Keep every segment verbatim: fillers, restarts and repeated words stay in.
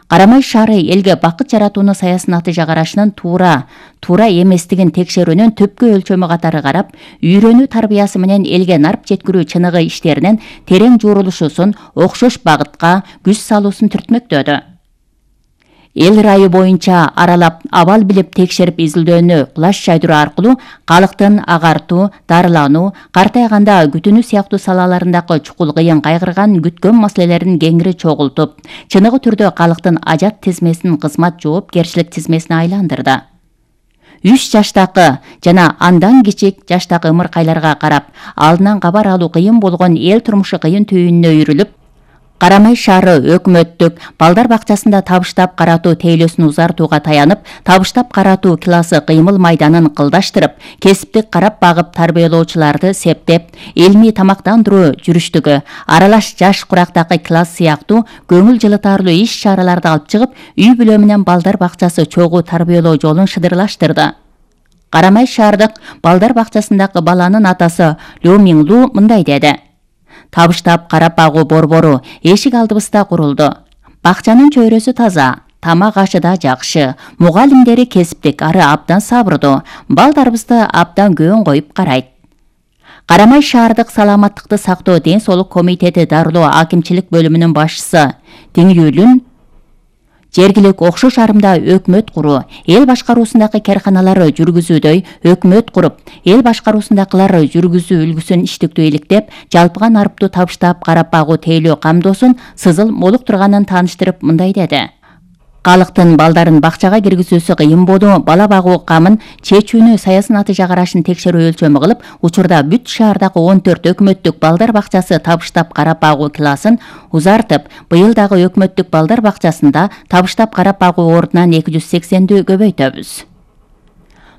Карамай шаары элге бакыт жаратууну саясий натыйжа карашынын туура, туура эместигин текшерүүнүн түпкү өлчөмү катары карап, үйрөнүү тарбиясы менен элге нарп жеткирүү чыныгы иштеринин терең жуурулушусун окшош багытка күч салуусун түртмөктөдү. Эл ырайы боюнча аралап, абал билип текшерип изилдөөнү кулаш жайдыруу аркылуу калктын агартуу, дарылануу, картайганда күтүүнү сыяктуу салаларындагы чукул кыйын кайгырган күткөн маселелерин кеңири чогултуп, чыныгы түрдө калктын ажат тизмесин кызмат жоопкерчилик тизмесине айландырды. үч жаштагы жана андан кичик жаштагы ымыркайларга карап, алдынан кабар алуу кыйын болгон эл турмушу кыйын түйүнүнө үйрүлүп, Карамай шаары өкмөттүк балдар бакчасында табыштап каратуу тейлөөсүн узартууга таянып, табыштап каратуу классы кыймыл майданын кылдаштырып, кесиптик карап багып тарбиялоочуларды септеп, илмий тамактандыруу жүрүштүгү, аралаш жаш курактагы класс сыяктуу көңүл жылытарлуу иш-чараларды алып чыгып, үй бүлө менен балдар бакчасы чогуу тарбиялоо жолун шыдырлаштырды. Карамай шаардык балдар бакчасындагы баланын атасы Лю Минглу мындай деди: Табыштап карап багуу борбору эшик алдыбызда курулду. Бакчанын чөйрөсү таза, тамак ашы да жакшы, мугалимдери кесиптик, ары абдан сабырдуу, балдарыбызды абдан көң коюп карайт. Карамай шаардык саламаттыкты сактоо ден соолук комитети дарылоо акимчилик бөлүмүнүн башчысы Теңүүлүн жергилик окшош арымда өкмөт куруу, эл башкаруусундагы карканалары жүргүзүүдөй өкмөт куруп, эл башкаруусундагылар жүргүзүү үлгүсүн иштиктүү иликтеп, жалпыга нарыптуу табыштап карап багуу тейлөө камдоосун сызыл молуктурганын тааныштырып мындай деди: Калктын балдарын бакчага киргизүүсү кыйын болуу, бала багуу камын чечүүнү саясий натыйжа карашын текшерүү өлчөмү кылып, учурда бүт шаардагы он төрт өкмөттүк балдар бакчасы табыштап карап багуу классын узартып, быйыл дагы өкмөттүк балдар бакчасында табыштап карап багуу ордунан эки жүз сексенди көбөйтөбүз.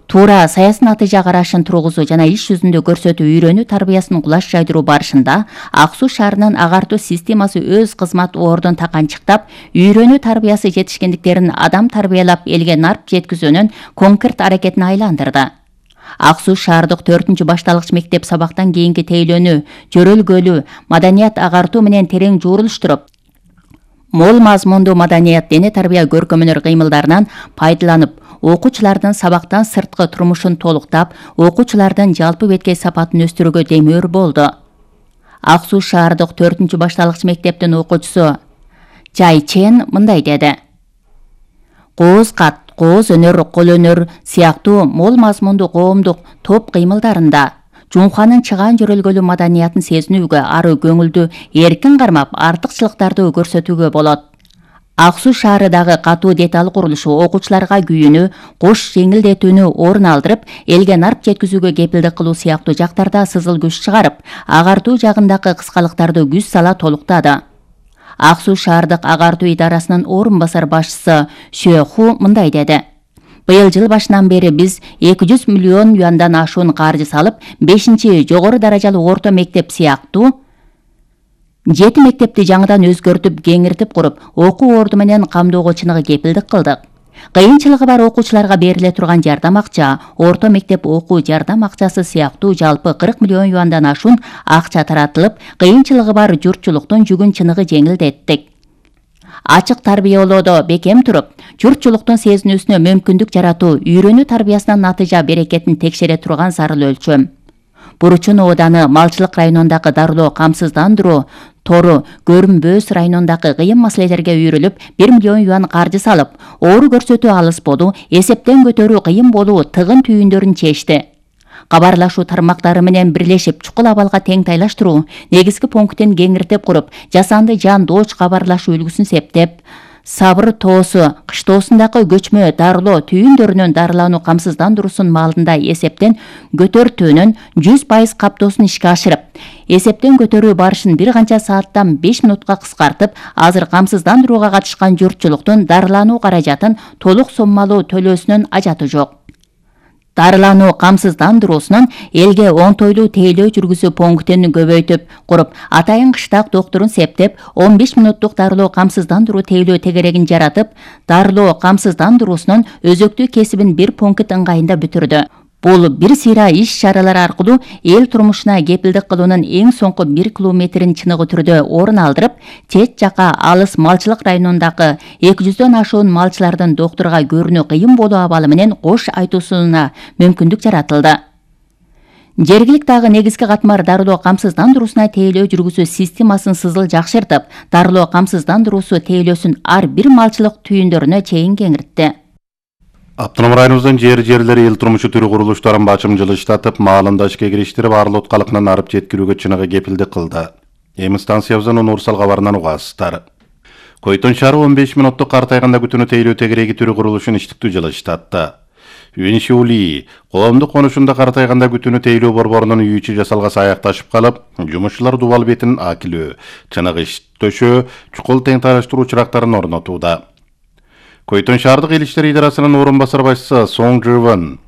Туура саясий натыйжа карашын тургузуу жана иш жүзүндө көрсөтүү үйрөнүү тарбиясын кулаш жайдыруу барышында Ак Суу шаарынын агартуу системасы өз кызмат ордун таканчыктап, үйрөнүү тарбиясы жетишкендиктерин адам тарбиялап элге нарп жеткизүүнүн конкрет аракетине айландырды. Ак Суу шаардык төртүнчү башталгыч мектеп сабактан кийинки тейлөөнү жөрөлгөлүү маданият агартуу менен терең жуурулуштуруп, мол мазмундуу маданият дене тарбия көркөмөнөр кыймылдарынан пайдаланып, окуучулардын сабактан сырткы турмушун толуктап, окуучулардын жалпы беткей сапатын өстүрүүгө демөөр болду. Ак Суу шаардык төртүнчү башталгыч мектептин окуучусу Чай Чен мындай деди: Кооз кат, кооз өнөр, кол өнөр сыяктуу мол мазмундуу коомдук топ кыймылдарында Жумханын чыгаан жөрөлгөлүү маданиятын сезинүүгө, ары көңүлдү эркин кармап, артыкчылыктарды көрсөтүүгө болот. Ак Суу шаарындагы катуу деталь курулушу окуучуларга күйүүнү, кош жеңилдетүүнү орун алдырып, элге нарп жеткизүүгө кепилдик кылуу сыяктуу жактарда сызыл күч чыгарып, агартуу жагындагы кыскалыктарды күч сала толуктады. Ак Суу шаардык агартуу идарасынын орун басар башчысы Шө Ху мындай деди: Быйыл жыл башынан бери биз эки жүз миллион юандан ашуун каржы салып, бешинчи жогору даражалуу орто мектеп сыяктуу жети мектепти жаңыдан өзгөртүп, кеңиртип куруп, окуу орду менен камдоого чыныгы кепилдик кылдык. Кыйынчылыгы бар окуучуларга бериле турган жардам акча, орто мектеп окуу жардам акчасы сыяктуу жалпы кырк миллион юандан ашуун акча таратылып, кыйынчылыгы бар журтчулуктун жүгүн чыныгы жеңилдеттик. Ачык тарбиялоодо бекем туруп, журтчулуктун сезинүүсүнө мүмкүндүк жаратуу үйрөнүү тарбиясынын натыйжа берекетин текшере турган зарыл өлчөм. Буручун ооданы малчылык районундагы дарылоо камсыздандыруу тору Көрүмбөөс районундагы кыйын маселелерге үйрүлүп, бир миллион юан каржы салып, оору көрсөтүү алыс болуу, эсептен көтөрүү кыйын болуу тыгын түйүндөрүн чечти. Кабарлашуу тармактары менен бирлешип, чукул абалга тең тайлаштыруу, негизги пунктин кеңиртип куруп, жасанды жан дооч кабарлашуу үлгүсүн септеп, Сабыр тоосу кыштоосундагы көчмө дарылоо түйүндөрүнүн дарылануу камсыздандыруусунун маалында эсептен көтөртүүнүн жүз пайыз каптоосун ишке ашырып, эсептен көтөрүү барышын бир канча сааттан беш минутка кыскартып, азыр камсыздандырууга катышкан журтчулуктун дарылануу каражатын толук соммалуу төлөөсүнүн ажаты жок. Дарылануу камсыздандыруусунун элге оңтойлуу тейлөө жүргүзүү пунктин көбөйтүп куруп, атайын кыштак доктурун септеп, он беш минуттук дарылоо камсыздандыруу тейлөө тегерегин жаратып, дарылоо камсыздандыруусунун өзөктүү кесибин бир пункт ыңгайында бүтүрдү. Бул бир сыйра иш-чаралар аркылуу эл турмушуна кепилдик кылуунун эң соңку бир километрин чыныгы түрдө орун алдырып, чет жака алыс малчылык районундагы эки жүздөн ашуун малчылардын доктурга көрүнүү кыйын болуу абалы менен кош айтуусуна мүмкүндүк жаратылды. Жергиликтагы негизги катмар дарылоо камсыздандыруусуна тейлөө жүргүзүү системасын сызыл жакшыртып, дарылоо камсыздандыруусу тейлөөсүн ар бир малчылык түйүндөрүнө чейин кеңиртти. Автоном районубуздун жер-жерлери эл турмушу түрү курулуштарын бачым жылыштатып, маалында ишке кириштирип, арлы уткалыкынан арып жеткирүүгө чыныгы кепилдик кылды. Эми станциябыздын универсал кабарынан угасыздар. Койтон шаары он беш мүнөттүк картайганда күтүүнү тейлөө тегереги түрү курулушун иштиктүү жылыштатты. Юнишули коомдук конушунда картайганда күтүүнү тейлөө борборунун үй ичи жасалгасы аякташып калып, жумушчулар дубал бетин акилөө, чыныгы иш төшөө, чукул тең тараштыруу чырактарын орнотууда. Койтон шаардык эл иштери идарасынын орун басар башчысы Сонг Живан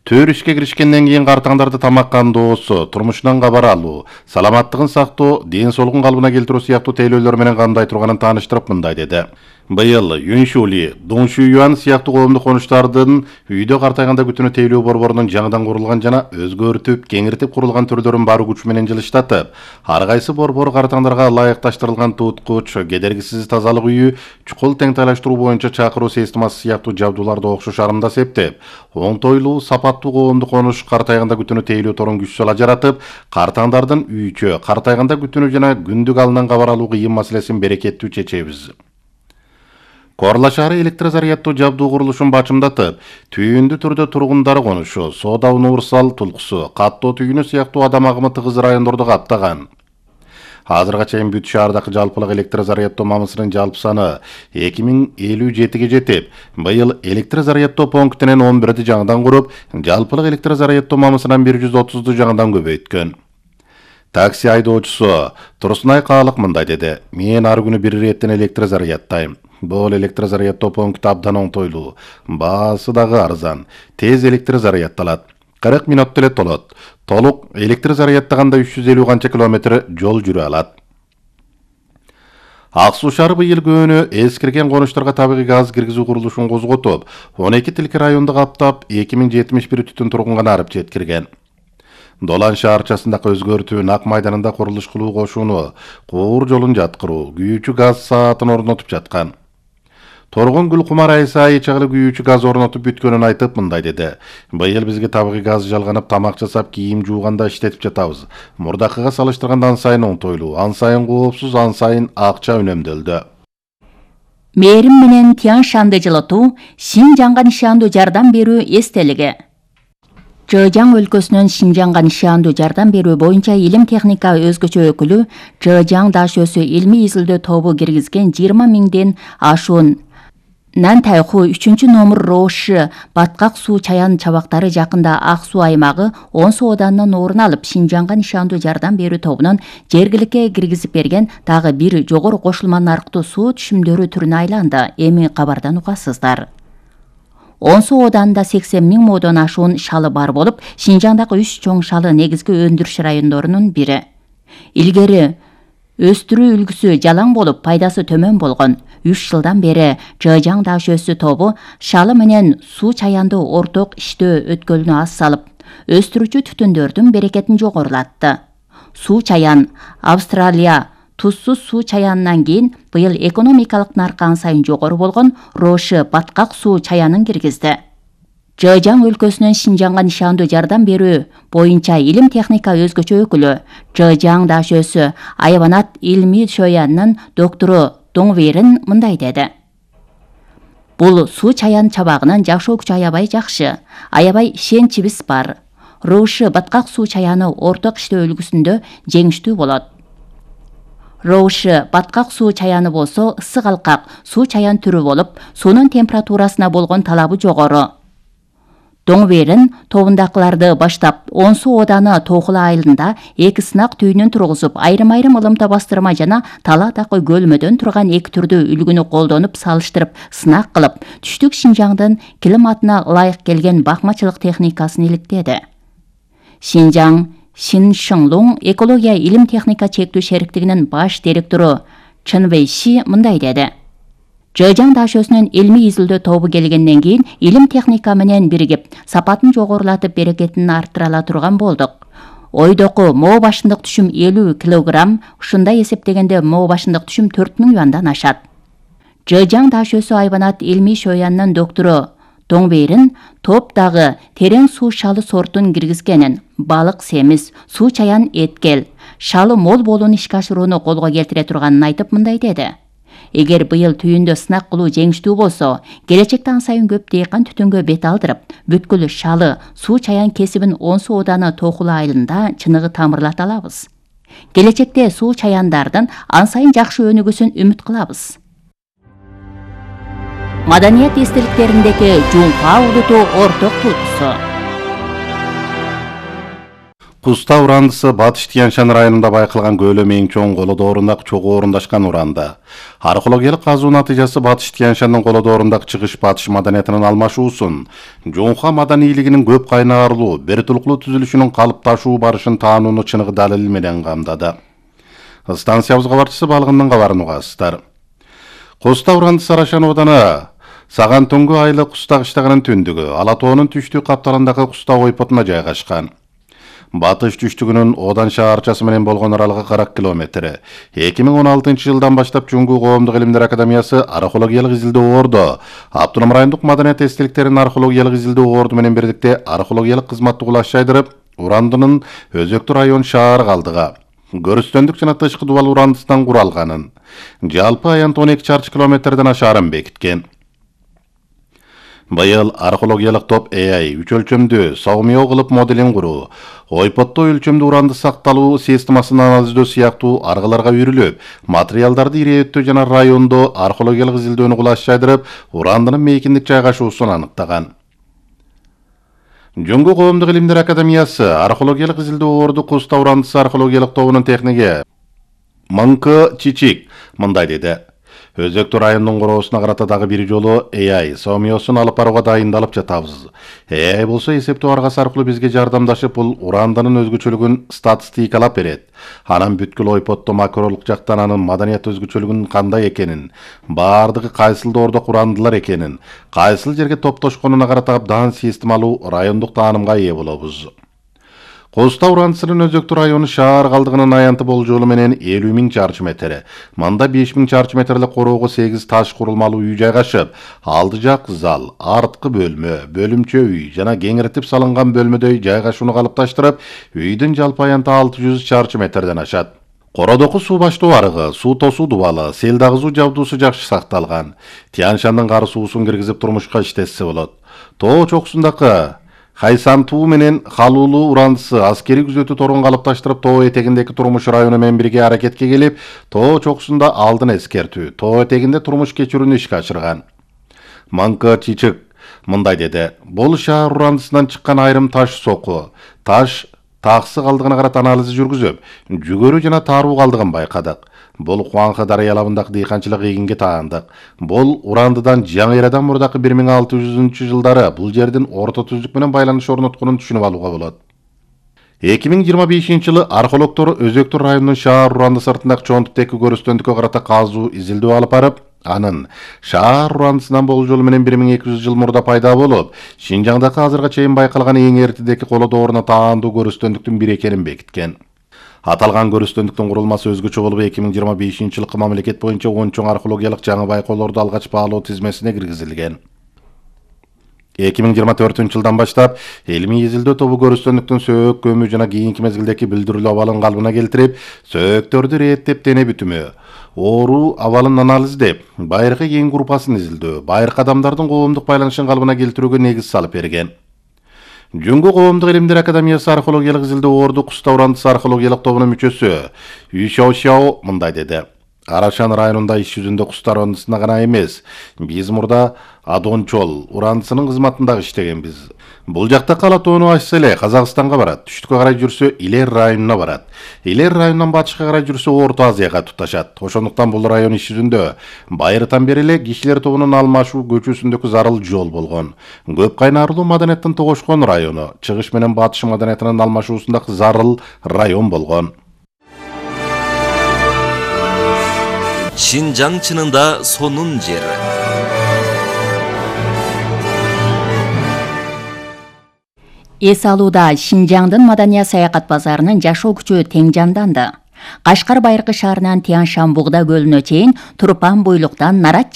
төр ишке киришкенден кийин картаңдарды тамаккандоосу, турмушунан кабар алуу, саламаттыгын сактоо, ден соолугун калыбына келтирүү сыяктуу тейлөөлөр менен кандай турганын тааныштырып мындай деди. Быйыл Юншули, Доңшуюан сыяктуу коомдук конуштардын үйдө картайганда күтүүнү тейлөө борборунун жаңыдан курулган жана өзгөртүп, кеңиртип курулган түрлөрүн бар күч менен жылыштатып, ар кайсы борбор картаңдарга ылайыкташтырылган туткуч, кедергисиз тазалык үйү, чукул тең тайлаштыруу боюнча чакыруу системасы сыяктуу жабдууларды окшош арымда септеп, оңтойлуу, сапаттуу коомдук конуш картайганда күтүүнү тейлөө торун күч сала жаратып, картаңдардын үйчө, картайганда күтүүнү жана күндүк алынан кабар алуу кыйын маселесин берекеттүү чечебиз. Корла шаары электрозаряддуу жабдуу курулушун бачымдатып, түйүндү түрдө тургундары конушу, Соода универсал тулкусу, Каттоо түйүнү сыяктуу адам агымы тыгыз райондорду каптаган. Азырга чейин бүт шаардагы жалпылык электрозаряддоо мамысынын жалпы саны эки миң элүү жетиге жетип, быйыл электрозаряддоо пунктинен он бирди жаңыдан куруп, жалпылык электрозаряддоо мамысынан бир жүз отузду жаңыдан көбөйткөн. Такси айдоочусу Турсунай Каалык мындай деди: "Мен ар күнү бир иреттен электрозаряддайм. Бул электрозаряддоо пункту абдан оңтойлуу, баасы дагы арзан, тез электрозаряддалат. кырк мүнөттө эле толот. Толук электрозаряддаганда үч жүз элүү канча километр жол жүрө алат." Ак Суу шаары быйыл көөнү эскирген конуштарга табигый газ киргизүү курулушун козготуп, он эки тилки районду каптап, эки миң жетимиш бир түтүн тургунга арып жеткирген. Долан шаарчасындагы өзгөртүү, Нак майданында курулуш кылуу кошууну, Куур жолун жаткыруу, күйүүчү газ саатын орнотуп жаткан. Торгон Гүлкумар Айсай чагылы күйүүчү газ орнотуп бүткөнүн айтып мындай деди: "Быйыл бизге табигый газ жалганып, тамак жасап, кийим жууганда иштетип жатабыз. Мурдакыга салыштырганда ан сайын оңтойлуу, ан сайын коопсуз, ан сайын акча үнөмдөлдү." Мээрим менен Тянь Шанды жылытуу, Шинжаңга нишандуу жардам берүү эстелиги. Чжэжьяң өлкөсүнүн Шинжаңга нишандуу жардам берүү боюнча илим техника өзгөчө өкүлү Чжэжьяң Дашөсү илмий изилдөө тобу киргизген жыйырма миңден ашуун Нантайху үчүнчү номер Роши баткак суу чаян чабактары жакында Ак Суу аймагы он сооданын орун алып, Шинжаңга нишандуу жардам берүү тобунун жергиликке киргизип берген дагы бир жогору кошулма нарктуу суу түшүмдөрү түрүнө айланды. Эми кабардан угасыздар. он сооданында сексен миң модон ашуун шалы бар болуп, Шинжаңдагы үч чоң шалы негизги өндүрүш райондорунун бири. Илгери өстүрүү үлгүсү жалаң болуп, пайдасы төмөн болгон. үч жылдан бери Чжэжьяң Дашөсү тобу шалы менен суу чаянды орток иштөө өткөлүнө аз салып, өстүрүүчү түтүндөрдүн берекетин жогорулатты. Суу чаян Австралия тузсуз суу чаянынан кийин быйыл экономикалык наркы ан сайын жогору болгон Роши баткак суу чаянын киргизди. Чжэжьяң өлкөсүнүн Шинжаңга нишандуу жардам берүү боюнча илим техника өзгөчө өкүлү Чжэжьяң Дашөсү Айванат илмий шоянын доктору Доңверин мындай деди: "Бул суу чаян чабагынын жашоо күчү аябай жакшы, аябай ишенчибиз бар. Роши баткак суу чаяны орток иштөө үлгүсүндө жеңиштүү болот. Роши баткак суу чаяны болсо ысык алкак суу чаян түрү болуп, суунун температурасына болгон талабы жогору. Доңверин тобундакыларды баштап он сооданы Тоохула айылында эки сынак түйүнүн тургузуп, айрым-айрым ылымта бастырма жана Таладагы көлмөдөн турган эки түрдүү үлгүнү колдонуп салыштырып сынак кылып, түштүк Шинжаңдын климатына ылайык келген бакмачылык техникасын иликтеди. Шинжаң Шиншыңлуң экология илим техника чектүү шериктигинин баш директору Чын Вэйши мындай деди: Жыжаң дашөсүнүн илмий изилдөө тобу келгенден кийин илим техника менен биригип, сапатын жогорулатып берекетин арттыра ала турган болдук. Ойдоку моо башындык түшүм элүү килограмм, ушундай эсептегенде моо башындык түшүм төрт миң юандан ашат. Жыжаң дашөсү айбанат илмий шоянынын доктору Тоңбейрин топ дагы терең суу шалы сортун киргизгенин, балык семиз, суу чаян эткел, шалы мол болууну ишке ашырууну колго келтире турганын айтып мындай деди. Эгер быйыл түйүндө сынак кылуу жеңиштүү болсо, келечекте ан сайын көп дыйкан түтүнгө бет алдырып, бүткүл шалы, суу чаян кесибин Онсу ооданы Токулу айылында чыныгы тамырлата алабыз. Келечекте суу чаяндардын ан сайын жакшы өнүгүүсүн үмүт кылабыз. Маданият эстеликтериндеги Жуңка улуту орток туутусу. Куста урандысы Батыш Тянь-Шань районунда байкалган көлөмү эң чоң колодорундагы чогуу орундашкан уранда. Археологиялык казуу натыйжасы Батыш Тянь-Шаньдын колодорундагы чыгыш батыш маданиятынын алмашуусун, Жуңка маданийлигинин көп кайнарлуу, бир тулуктуу түзүлүшүнүн калыпташуу барышын таанууну чыныгы далил менен камдады. Станциябыз кабарчысы Балгындын кабарын угасыздар. Куста урандысы Арашан ооданы Саган Түнгү айылы Куста кыштагынын түндүгү, Ала тоонун түштүк капталындагы Куста ойпотуна жайгашкан. Батыш түштүгүнүн Одан шаарчасы менен болгон аралыгы кырк километр. эки миң он алтынчы жылдан баштап Жуңгу коомдук илимдер академиясы археологиялык изилдөө орду, Автоном райондук маданият эстеликтеринин археологиялык изилдөө орду менен бирдикте археологиялык кызматты кулаштайдырып, урандынын Өзөктү район шаар калдыга, көрүстөндүк жана тышкы дубал урандысынан куралганын, жалпы аянты он эки чарчы километрден ашаарын бекиткен. Быйыл археологиялык топ А I үч өлчөмдүү согмио кылып моделин куруу, ойпотто өлчөмдүү уранды сакталуу системасын анализдөө сыяктуу аргаларга үйрүлүп, материалдарды ирээттөө жана райондо археологиялык изилдөөнү кулаштайдырып, урандынын мейкиндик жайгашуусун аныктаган. Жуңгу коомдук илимдер академиясы археологиялык изилдөө орду Куста урандысы археологиялык тобунун техниги Мыңкы Чичик мындай деди. Өзөктү райондун короосуна карата дагы бир жолу А I сомиосун алып барууга дайындалып жатабыз. А I болсо эсептөө аргасы аркылуу бизге жардамдашып, бул урандынын өзгөчөлүгүн статистикалап берет. Анан бүткүл ойпотто макролук жактан анын маданият өзгөчөлүгүнүн кандай экенин, баардыгы кайсыл доордо урандылар экенин, кайсыл жерге топтошконуна карата абдан системалуу райондук таанымга ээ болобуз. Куста урандысынын Өзөктү району шаар калдыгынын аянты болжолу менен элүү миң чарчы метр, мында беш миң чарчы метрлик короого сегиз таш курулмалуу үй жайгашып, алды жак зал, арткы бөлмө, бөлүмчө үй жана кеңиртип салынган бөлмөдөй жайгашууну калыпташтырып, үйдүн жалпы аянты алты жүз чарчы метрден ашат. Кородоку суу баштоо арыгы, суу тосуу дубалы, сел дагызуу жабдуусу жакшы сакталган. Тянь-Шандын кары суусун киргизип турмушка иштетсе болот. Тоо чокусундагы Хайсантуу менен Халуулуу урандысы аскери күзөтүү торун калыпташтырып, тоо этегиндеги турмуш району менен бирге аракетке келип, тоо чокусунда алдын эскертүү, тоо этегинде турмуш кечирүүнү ишке ашырган. Мыңкы Чичик мындай деди. Бул шаар урандысынан чыккан айрым таш соку, таш таксы калдыгына карата анализ жүргүзүп, жүгөрү жана тааруу калдыгын байкадык. Бул Хуанхэ дарыялабындагы дыйканчылык эгинге таандык. Бул урандыдан жаңы эрадан мурдакы бир миң алты жүзүнчү жылдары бул жердин орто түздүк менен байланыш орнотконун түшүнүп алууга болот. эки миң жыйырма бешинчи жылы археологдор Өзөктү районунун шаар уранды сыртындагы чоңтуктеги көрүстөндүккө карата казуу изилдөө алып барып, анын шаар урандысынан болжолу менен бир миң эки жүз жыл мурда пайда болуп, Шинжаңдагы азырга чейин байкалган эң эртедеги колодооруна таандуу көрүстөндүктүн бири экенин бекиткен. Аталган көрүстөндүктүн курулмасы өзгөчө болуп, эки миң жыйырма бешинчи жылкы мамлекет боюнча он чоң археологиялык жаңы байкоолорду алгач баалоо тизмесине киргизилген. эки миң жыйырма төртүнчү жылдан баштап илимий изилдөө тобу көрүстөндүктүн сөөк көмү жана кийинки мезгилдеги билдирүүлүү абалын калыбына келтирип, сөөктөрдү ирээттеп дене бүтүмү, оору абалын анализдеп, байыркы ген группасын изилдөө, байыркы адамдардын коомдук байланышын калыбына келтирүүгө негиз салып берген. Жуңгу коомдук илимдер академиясы археологиялык изилдөө орду Куста урандысы археологиялык тобунун мүчөсү Үй Шаошао мындай деди. Арашан районунда иш жүзүндө Куста урандысына гана эмес, биз мурда Адончол урандысынын кызматында иштегенбиз. Бул жакта Ала тоону ачса эле Казакстанга барат, түштүккө карай жүрсө Илер районуна барат. Илер районунан батышка карай жүрсө Орто Азияга туташат. Ошондуктан бул район иш жүзүндө байыртан бери эле кишилер тобунун алмашуу көчөсүндөгү зарыл жол болгон. Көп кайнарлуу маданияттын тогошкон району, чыгыш менен батыш маданиятынын алмашуусундагы зарыл район болгон. Шинжаң чынында сонун жер. Эс алууда Шинжаңдын Маданият саякат базарынын жашоо күчү тең жанданды. Кашкар Байыркы шаарынан Тянь Шань Бугда көлүнө чейин Турпан буйлуктан Нарат